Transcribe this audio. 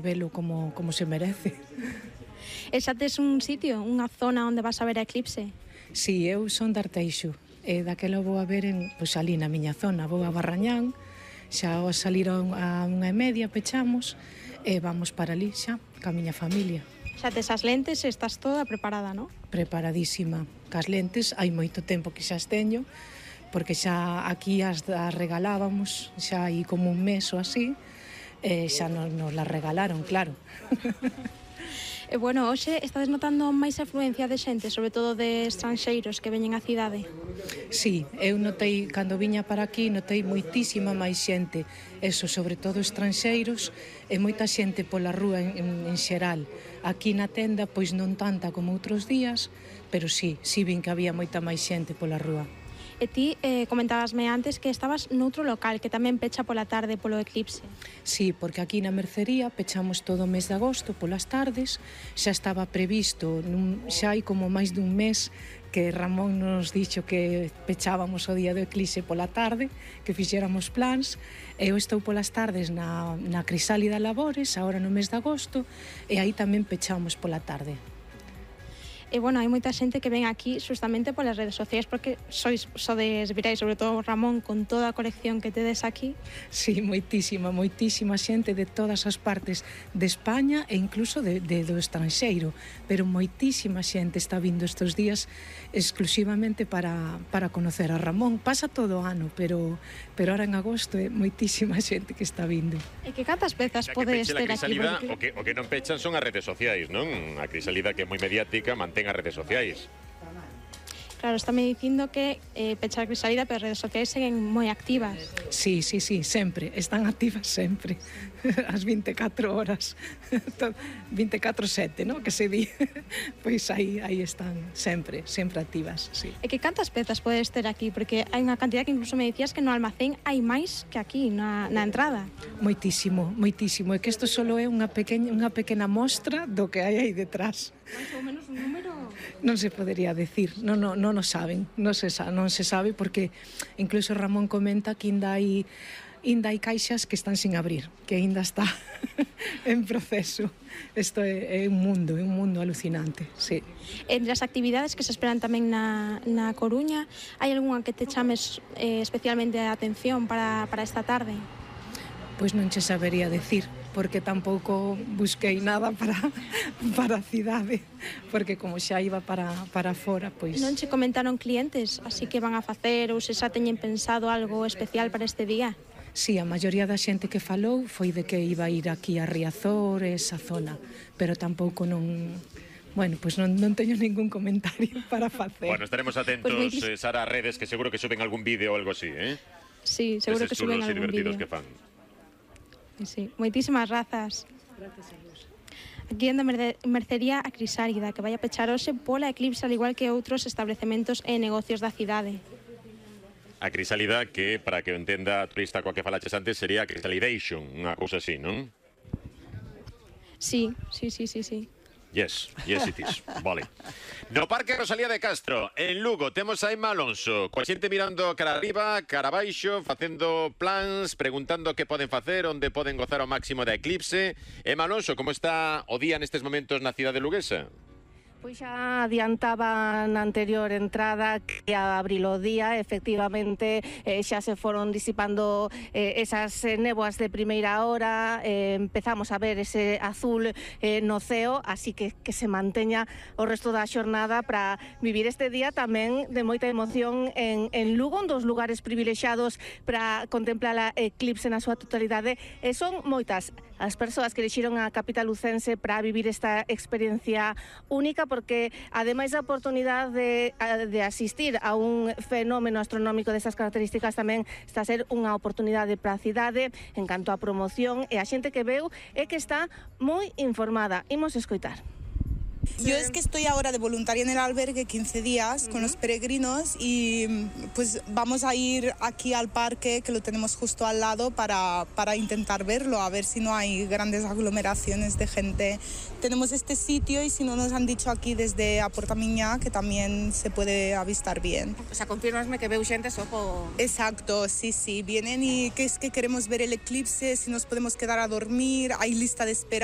velo como se merece. E xa tes un sitio, unha zona onde vas a ver a eclipse? Si, eu son de Arteixo, e daquela vou a ver pois, ali na miña zona, vou a Barrañán, xa ao salir a 1:30 pechamos, e vamos para ali xa, ca miña familia. Xa tes as lentes e estás toda preparada, non? Preparadísima. Cas lentes, hai moito tempo que xa as teño, porque xa aquí as regalábamos, xa hai como un mes ou así, e xa nos las regalaron, claro. E bueno, hoxe estades notando máis afluencia de xente, sobre todo de estranxeiros que veñen á cidade? Sí, eu notei, cando viña para aquí, notei moitísima máis xente, eso, sobre todo estranxeiros, e moita xente pola rúa en xeral. Aquí na tenda, pois non tanta como outros días, pero sí vin que había moita máis xente pola rúa. E ti comentabasme antes que estabas noutro local que tamén pecha pola tarde polo eclipse. Sí, porque aquí na mercería pechamos todo o mes de agosto polas tardes, xa estaba previsto, xa hai como máis dun mes que Ramón nos dixo que pechábamos o día do eclipse pola tarde, que fixéramos plans, e eu estou polas tardes na Crisálida Labores, agora no mes de agosto, e aí tamén pechamos pola tarde. E, bueno, hai moita xente que ven aquí justamente polas redes sociais porque sodes virais, sobre todo Ramón, con toda a colección que tedes aquí. Sí, moitísima xente de todas as partes de España e incluso do estranxeiro, pero moitísima xente está vindo estes días exclusivamente para conocer a Ramón. Pasa todo o ano, pero ahora en agosto é moitísima xente que está vindo. E que cantas pezas podes ter aquí? O que non pechan son as redes sociais, non? A Crisalida, que é moi mediática, mantén as redes sociais. Claro, estáme dicindo que pechar a Crisalida, pero as redes sociais seguen moi activas. Sí, sempre, están activas sempre, as 24 horas, 24/7, non? Que se di, pois aí están sempre activas, sí. E que cantas pezas podes ter aquí? Porque hai unha cantidad que incluso me dicías que no almacén hai máis que aquí, na entrada. Moitísimo, é que isto só é unha pequena mostra do que hai aí detrás. Mais ou menos un número? Non se podería decir, non o saben, non se sabe porque incluso Ramón comenta que ainda hai caixas que están sin abrir, que ainda está en proceso. Isto é un mundo alucinante, sí. Entre as actividades que se esperan tamén na Coruña, hai algunha que te chames especialmente a atención para esta tarde? Pois non che sabería decir, porque tampouco busquei nada para a cidade, porque como xa iba para fora, pois... Non che comentaron clientes, así que van a facer ou se xa teñen pensado algo especial para este día? Sí, a maioría da xente que falou foi de que iba a ir aquí a Riazor, esa zona, pero tampouco non... Bueno, pois non teño ningún comentario para facer. Bueno, estaremos atentos, Sara, a redes, que seguro que suben algún vídeo ou algo así, eh? Sí, seguro que suben algún vídeo. Que fan. Sí, moitísimas grazas. Gracias a vos. Aquí en mercería a Crisálida, que vai a pechar hoxe pola eclipse, al igual que outros establecementos e negocios da cidade. A Crisálida, que, para que o entenda a turista coa que falaches antes, sería a Crisalidation, unha cousa así, non? Sí. Yes it is, vale. No Parque Rosalía de Castro, en Lugo, temos a Emma Alonso, coa xente mirando cara arriba, cara abaixo, facendo plans, preguntando que poden facer, onde poden gozar ao máximo da eclipse. Emma Alonso, como está o día nestes momentos na cidade luguesa? Pois xa adiantaba na anterior entrada que a abril o día, efectivamente xa se foron disipando esas néboas de primeira hora, empezamos a ver ese azul no ceo, así que se manteña o resto da xornada para vivir este día tamén de moita emoción en Lugo, un dos lugares privilexiados para contemplar a eclipse na súa totalidade, e son moitas as persoas que elixiron a capital lucense para vivir esta experiencia única, porque ademais da oportunidade de asistir a un fenómeno astronómico destas características, tamén está a ser unha oportunidade para a cidade en canto a promoción, e a xente que veu é que está moi informada. Imos escoitar. Yo es que estoy ahora de voluntaria en el albergue 15 días con los peregrinos y pues vamos a ir aquí al parque, que lo tenemos justo al lado, para intentar verlo, a ver si no hay grandes aglomeraciones de gente. Tenemos este sitio y si no nos han dicho aquí desde a Porta Miñá que también se puede avistar bien. O sea, confirmasme que veu xente só po... Exacto, sí, vienen y que es que queremos ver el eclipse, si nos podemos quedar a dormir, hay lista de espera.